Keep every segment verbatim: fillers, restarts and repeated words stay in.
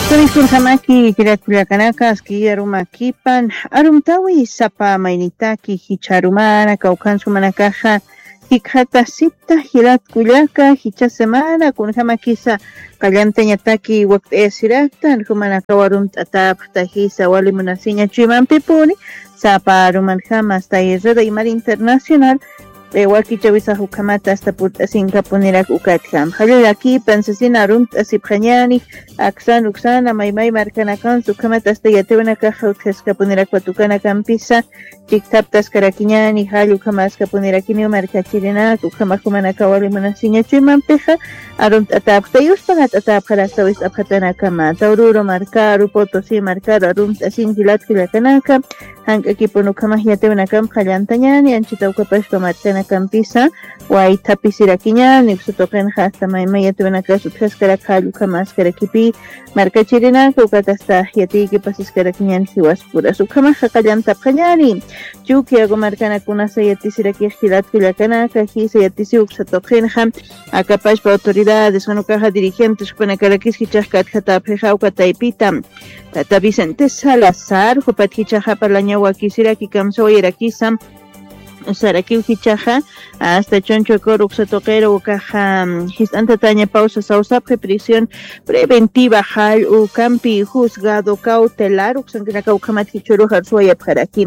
Kunjamaki jilat kullakanaka, aski arumakipan, arumtawi sapa maynitaki jichharumana kawkhansumanakaxa, jikxatasipta jilat kullaka, jichha semana, kunjamakisa, qallantañataki wakt'ayasiraktan, jumanakaw arumt'atapxta jisa, wali munasiña chuymampipuni, sapa arumanjama, hasta irreda imar internacional, wakichawisax ukhamata asta purt'asinkapunirak ukatjam. Jallallaki pansasina arumt'asipxañani, aksan uksana maymay markanakansa ukhamata asta yatiwanakaxa utjaskapunirak watukana kampisa, chikthaptaskarakiñani, jall ukhamaskapunirakiniw markachirinak, ukhamax jumanakaw wali munasiña chuymampixa, arumt'atapxta, yuspagat'atapxarakta wist'apxatanakama, Taururu markaru, Potosí markaru, arumt'asin jilat kullakanaka, jank'akipun ukhamax yatiwinakam qallantañani, anchita ukapashpa markanakampisa, waythapisirakiñani, uksa tuqinxa asta maymay yatiwinakas utjaskarak jall ukhamaskarakipi, markachirinaka, ukat asta yatiyki pasiskarakiñani jiwaspuras. Ukhamaxa qallantapxañani, Chukiyago markanakunasa yatisirakix jilat kullakanaka, jisa yatisiw uksa tuqinxa, akapashpa autoridades, jan ukaxa dirigentes, jupanakarakis jichhax katjatapxixa, uka taypita. Tata Vicente Salazar, jupat jichhaxa parlañaw wakisiraki kamsawayarakisa, sarakiw jichhaxa, asta chunchu akur uksa tuqiru ukaxa, mm, jist'antatañapaw sasawsapxi prisión preventiva jall ukampi juzgado cautelar uksankinakaw ukhamat jichhurux arsuwayapxaraki.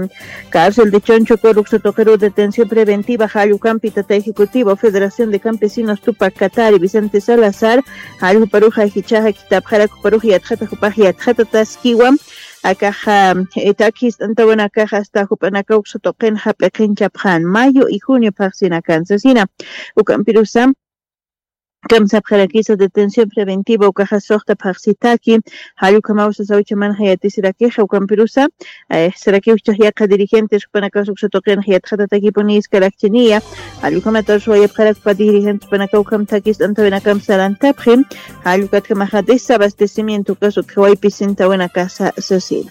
Cárcel de Chonchocoro uksa tuqiru detención preventiva jall ukampi tata ejecutivo Federación de Campesinos Tupac Katari Vicente Salazar, jall juparuxa jichhaxa kitapxarak juparux yatxata jupax yatxata taskiwa, akaxa, eh, takist'antawanakaxa asta jupanakaw uksa tuqin jap'iqinchapxan, mayo y junio phaxsinakan sasina. Ukampirusa, kamsapxarakisa detención preventiva ukaxa suxta phaxsitaki, jall ukhamaw sasawchamanxa yatisirakix, ukampirusa, eh, sarakiw jichhax yaqha dirigentes, jupanakas uksa tuqinxa yatxatatakipuni iskarakchiniya, jall ukhamataw suwayapxarakpa dirigentes, jupanakaw ukham takist'antawinakam sarantapxi, jall ukatjamaxa desabastecimiento ukas utjawaypi sintawinakasa sasina.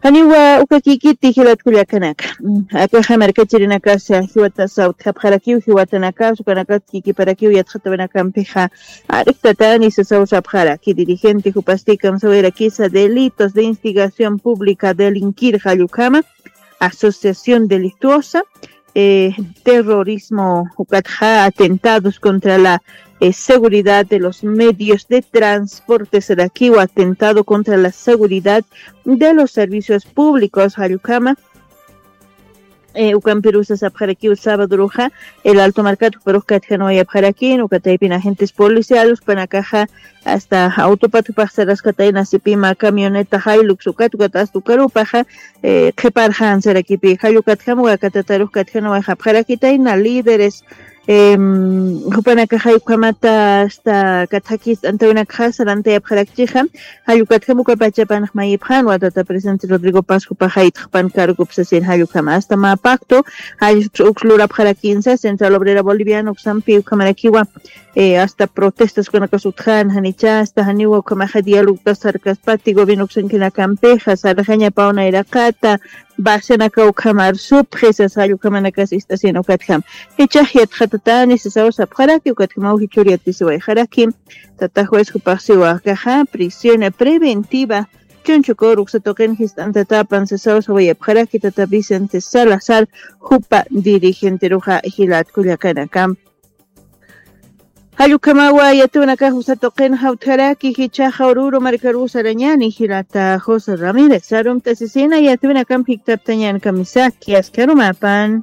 Janiwa uka kikiti jilat kullakanaka. Mm, akaxa markachirinakasa jiwatasa utjapxarakiw, jiwatanakas, ukanakat kikiparakiw yatxatawinakampixa, ariktatani sasaw sapxaraki dirigente jupasti kamsawirakisa delitos de instigación pública delinquir jall ukhama, asociación delictuosa, eh, terrorismo, ukatxa atentados contra la, eh, seguridad de los medios de transporte, sarakiw atentado contra la seguridad de los servicios públicos, jall ukhama, eh, ukampirusa sapxarakiw sábadoruxa, el Alto markat juparux katjanwayapxarakin, uka taypin agentes policiales, jupanakaxa, asta autopat jupax saraskatayna sipima camioneta Hilux ukat, ukat asta ukarupaxa, eh, qhiparxan sarakipi, jall ukatjam, uka katatarux katjanwayxapxarakitayna líderes, em, jupanakaxay ukhamata asta katjakist'antawinakxa sarantayapxarakchixa, jall ukatjam uka pachapanx mayipxan, watata presidente Rodrigo Paz jupaxay txpan cargop sasin, jall ukhama asta mä pacto, jall uks lurapxarakinsa, Central Obrera Boliviana uksampi ukhamarakiwa, eh, asta protestas ukanakas utjan, janicha, asta janiwa ukhamaxa dialogta sarkaspati gobierno uksankinakampixa, sarxañapaw nayraqata, basenaka ukhamar supxi, sasa jall ukhamanakas ist'asina ukatjam. Jichhax yatxatatani, sasaw sapxaraki, ukatjamaw jichhur yatisiwayxaraki, tata juez jupax siwa akaxa, prisión preventiva, Chunchukuru uksa tuqin jist'antatapan sasaw sawayapxaraki tata Vicente Salazar, jupa dirigenteruxa jilat kullakanaka. Jall ukhamawa yatiwanakax uksa tuqin jawtjaraki, jichhaxa Oruro markaruw sarañani jilata José Ramírez, arumt'asisina yatiwinakamp jiktaptañan kamisaki, aski arumapan.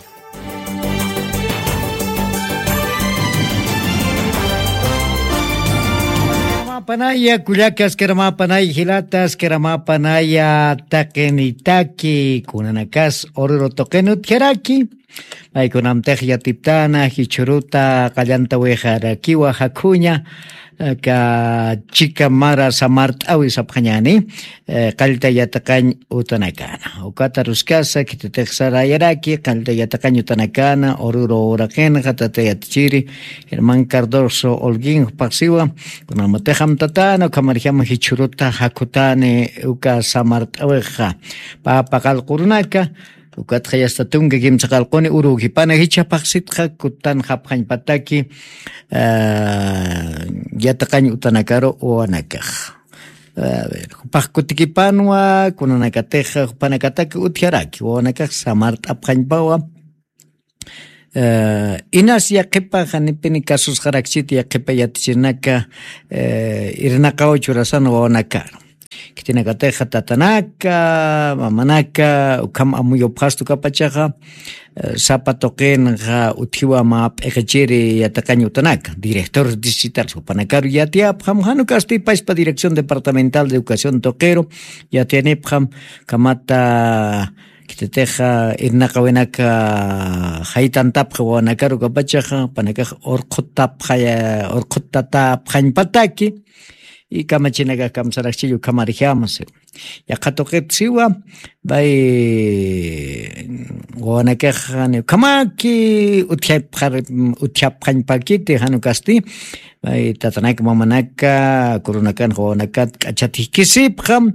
Panaya kullaka, aski arumapanaya jilata, aski arumapanaya taqinitaki, kunanakas Oruro tuqin utjaraki, maykunamtix yatiptana jichhuruta qallantawixarakiwa jakhuña, aka chika mara samart'awi sapxañani, eh, qallta yatiqañ utanakana. Ukata aruskasa, khitatix sarayaraki, qallta yatiqañ utanakana, Oruro uraqinxa, tata yatichiri, Germán Cardoso Holguín jupax siwa, kunjamatix amtatana, ukhamarjama jichhuruta jakhutani uka samart'awixa, pä paqallq urunaka, ukatxa yasta tunka kimsa qallquni uru ukipana jichha phaxsitxa kutanxapxañpataki, ah, yatiqañ utanakaru wawanakax. Jupax kutikipanwa kunanakatixa jupanakataki utjaraki wawanakax samart'apxañpawa. Inas yaqipa janipini kasusqarakchiti yaqipa yatichirinaka irnaqaw churasan wawanakaru. Khitinakatixa tatanaka mamanaka ukham amuyupxastu kapachaxa sapa tuqinxa utjiwa mä p'iqichiri yatiqañ utanaka director distrital jupanakaru yatiyapxam jan ukasti pachpa dirección departamental de educación tuqiru yatiyanipxam kamata khititixa irnaqawinaka jaytantapxi wawanakaru kapachaxa panakax urqhutapxaya urqhutatapxañpataki. Y kamachinakax kamsarakchillu ukhamarjama siwa yaqha tuqit siwa pay wawanakax ni ukhamaki utjapxar utjapxañpakiti jan ukasti pay tatanaka mamanaka kurunakan wawanakat k'achat jikisipxam.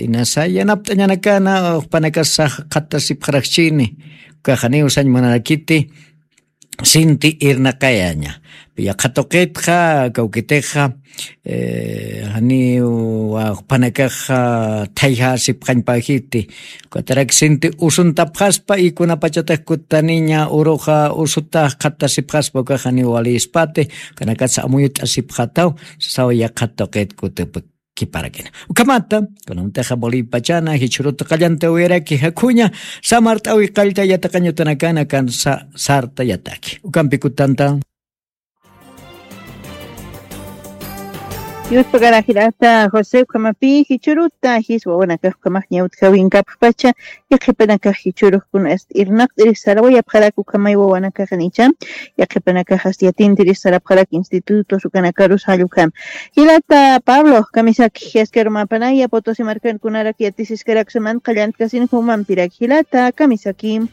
Inasa yanapt'añanakana jupanakasax qhatasipxarakchini ukaxaniw sañ munarakiti sinti irnaqayaña yaqha tuqitxa kawkitixa janiw jupanakaxa thayjasipxañpajiti. Ukatarak sinti usuntapxaspa y kunapachatax kutaniña uruxa usutax qhatasipxaspa ukax janiw walispati ukanakatsa amuyut'asipxataw sasaw yaqha tuqit kutipa kiparakina. Ukhamata kunamtaxa bolivia pachana jichhuruta qallanta uyaraki jakhuña samart'awi qallta yataqañutanakana kan sarta yataki ukampi kutanta. Yuspakarajirata jose ukhamapi jichhuruta jis wawanakax ukhamax ñawtjawinkapxpacha yaqhipanakax jichhurux kuna irnaqt'irix sarawayapxarak ukhamay wawanakaxanicha yaqhipanakax asti yatintirix sarapxarak institutos ukanakarus jallukam. Jilata pablo kamisaki jiaskarumapanaya potosi markankunarak yatisiskaraksaman qallantkasin jumampirak jilata kamisaki.